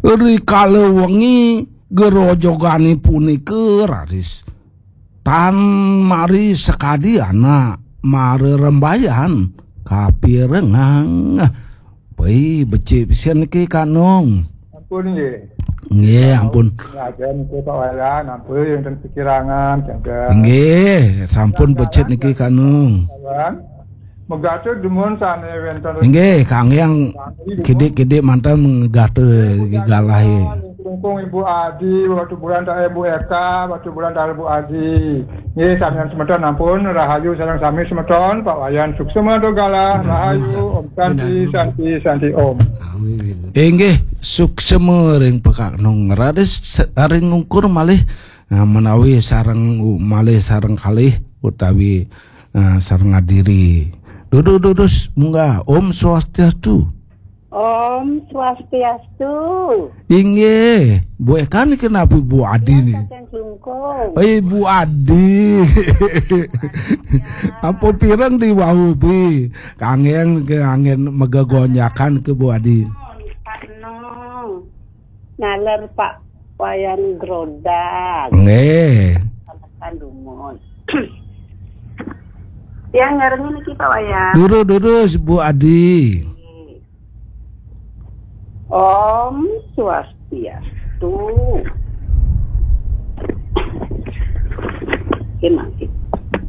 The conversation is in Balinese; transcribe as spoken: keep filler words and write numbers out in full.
Rikala wengi gerojogane punika raris tan mari sakadi anak marerembayan kapirengang. Pei becik pisan niki Kak Nung. Ampun nggih. Nggih, ampun. Lajeng niki Pak Wayan, ampun wonten pikirangan, jaga. Nggih, sampun becik niki Kak Nung. Megate dumun sane wenten. Nggih, kangge yang kidik-kidik manten megate galahe. Lungkung Ibu Adi, Batubulan tak Ibu Eka, Batubulan tak Ibu Adi. Nggih, samian semeton ampun, rahayu sareng sami semeton, Pak Wayan suksema do galah, rahayu, Om Santi, Santi, Santi, Om. Inggih, suksema ring Pak Nung, raris ring ungkur malih, nah, menawi sareng malih sareng kalih utawi, nah, sareng adiri. Dudu, dudu, munggah. Om Swastiastu. Om Swastiastu. Inggih, Bu Eka niki napi Bu Adi niki? Saking Klungkung. Eh, Bu Adi. Ampun pireng di wau, Bu. Kangge, kangge megegonjakan ke Bu Adi. Naler Pak Wayan Grodag. Nggih. Sampun dumun. Yang ngarengin niki Pak Wayan. Durus, durus, Bu Adi. Om Swastiastu. Oke, mangke.